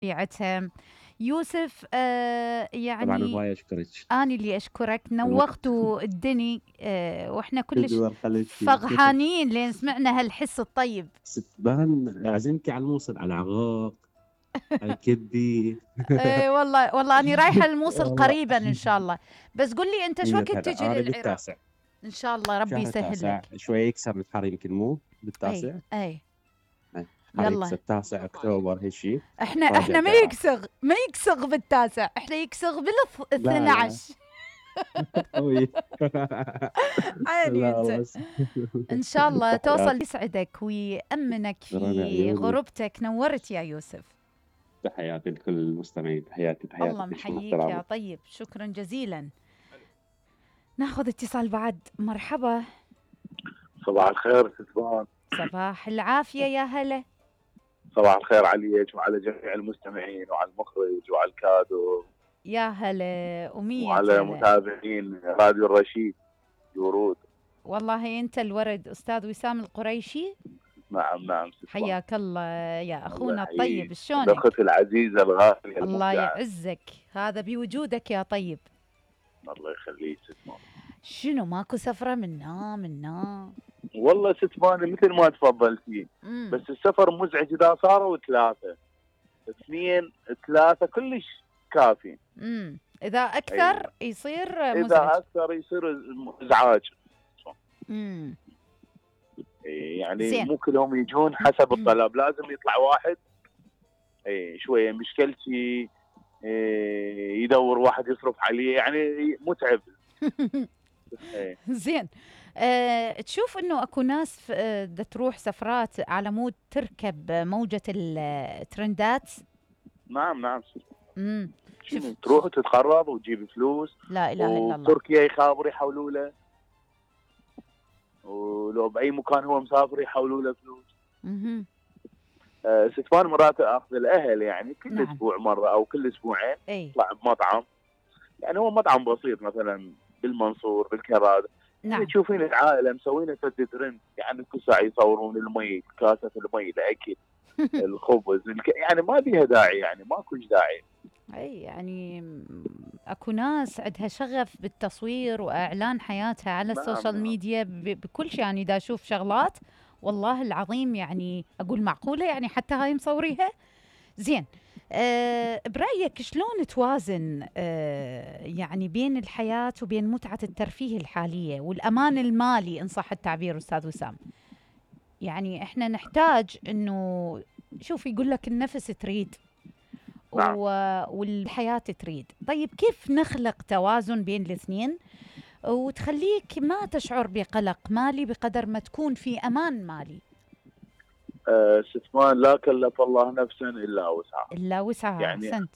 طبيعتها. يوسف طبعا يعني هواية اشكرك. أنا اللي أشكرك، الله نوختوا الدني وإحنا كلش تدور خليتي فرحانين لين سمعنا هالحس الطيب. ستبان عزمتي على الموصل، على عغاق، على الكبدي. والله أنا رايحة الموصل والله قريبا إن شاء الله. بس قل لي أنت شو وقت تجي انا للعراق؟ بالتاسع، إن شاء الله ربي شهر يسهل التاسع لك. شوية يكسر الحر، يمكن مو بالتاسع. أي حر يلا. يكسر التاسع اكتوبر هالشي. احنا راجع بعراق. ما يكسغ بالتاسع، احنا يكسغ لا لا بال12. قوي. عيني لا انت. بس ان شاء الله تحياتي. توصل، يسعدك ويأمنك رنا في عيوني، غربتك. نورت يا يوسف. تحياتي لكل المستمعين، تحياتي الله كل شيء محييك يا محترمة. طيب، شكرا جزيلا. ناخذ اتصال بعد. مرحبا. صباح الخير ستفان. صباح العافية يا هلا. صباح الخير عليك وعلى جميع المستمعين وعلى المخرج وعلى الكادو يا هلا ومية وعلى هلا. متابعين راديو الرشيد ورود. والله انت الورد استاذ وسام القريشي. نعم ستفان. حياك الله يا اخونا الله الطيب، يحييك. شلونك؟ الاخت العزيزة الغالية الله المبدعة. يعزك، هذا بوجودك يا طيب. الله يخليك ستفان. شنو ماكو سفرة منا؟ والله ستفان مثل ما تفضلتي، بس السفر مزعج اذا صاروا 3 2 3 كلش كافي. اذا اكثر يصير مزعج. اذا اكثر يصير ازعاج. يعني زين. مو كلهم يجون حسب الطلب، لازم يطلع واحد شويه مشكلتي يدور واحد يصرف عليه، يعني متعب. زين. تشوف انه اكو ناس تروح سفرات على مود تركب موجة الترندات؟ نعم. شوف تروح وتتقرب وتجيب فلوس. لا اله الا الله. وتركيا يخابر يحولوا له، ولو باي مكان هو مسافر يحولوا له فلوس. ستفان مرات اخذ الاهل يعني كل نعم. اسبوع مره او كل اسبوعين يطلع بمطعم، يعني هو مطعم بسيط مثلا بالمنصور بالكراد. نعم. يعني تشوفين العائله مسوينه سد ترند، يعني كل ساعه يصورون المي، كاسه المي، الاكل، الخبز، يعني ما بيها داعي، يعني ماكوش داعي. اي يعني اكو ناس عندها شغف بالتصوير واعلان حياتها على السوشيال ميديا بكل شيء. يعني دا اشوف شغلات والله العظيم يعني اقول معقوله يعني حتى هاي مصوريها. زين. برايك شلون توازن يعني بين الحياه وبين متعه الترفيه الحاليه والامان المالي ان صح التعبير استاذ وسام؟ يعني احنا نحتاج انه شوف يقول لك النفس تريد والحياة تريد. طيب كيف نخلق توازن بين الاثنين وتخليك ما تشعر بقلق مالي بقدر ما تكون في أمان مالي؟ ستفان لا كلف الله نفسا إلا وسعها. يعني أحسنت.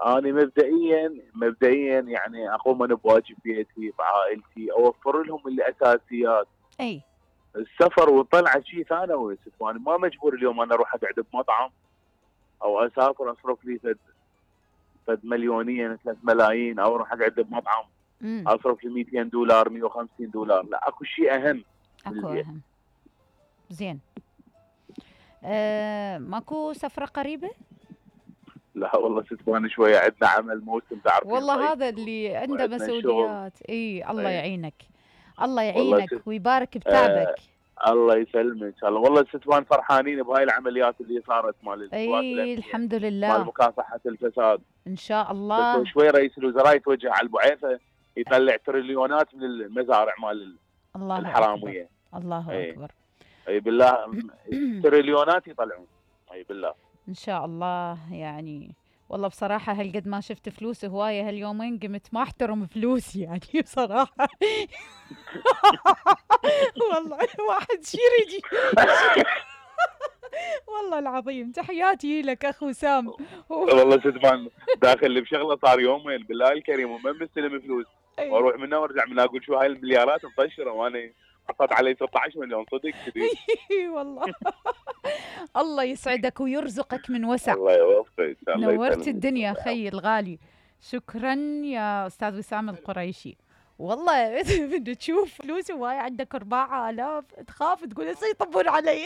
أنا مبدئيا يعني أقوم أنا بواجب بيتي بعائلتي، أوفر لهم الأساسيات. أي السفر والطلعة شيء ثانوي ستفان، ما مجبور اليوم أنا أروح أقعد بمطعم او اسافر اصرف لي فد مليونين 3 ملايين، او اروح اقعد بمطعم اصرف لي $200 $150. لا اكو شيء اهم. اهم. زين. ماكو سفره قريبه؟ لا والله ستفان شويه عندنا عمل موسم تعرفين. والله هذا اللي عنده مسؤوليات. الله يعينك. الله يعينك ويبارك بتعبك. الله يسلمك. الله والله ستفان فرحانين بهاي العمليات اللي صارت مال الحمد لله، مال مكافحه الفساد ان شاء الله. شوي رئيس الوزراء يتوجه على البعيثه يطلع تريليونات من المزارع مال الله الحراميه. أكبر. الله اكبر. اي بالله تريليونات يطلعون. اي بالله ان شاء الله. يعني والله بصراحة هالقد ما شفت فلوس هواية هاليومين قمت ما احترم فلوسي يعني بصراحة. والله واحد يجي والله العظيم. تحياتي لك اخو سام. والله ستفان داخل بشغله صار يومين بالله الكريم وما مستلم فلوس، واروح منها وارجع منها اقول شو هاي المليارات مطشره وانا حطيت علي 16 مليون صدق كذي. والله. الله يسعدك ويرزقك من وسع. الله يوفقك. نورت الدنيا خي الغالي. شكرا يا استاذ وسام القريشي. والله بدك تشوف فلوس وهاي عندك 4000 تخاف تقول يطبون علي.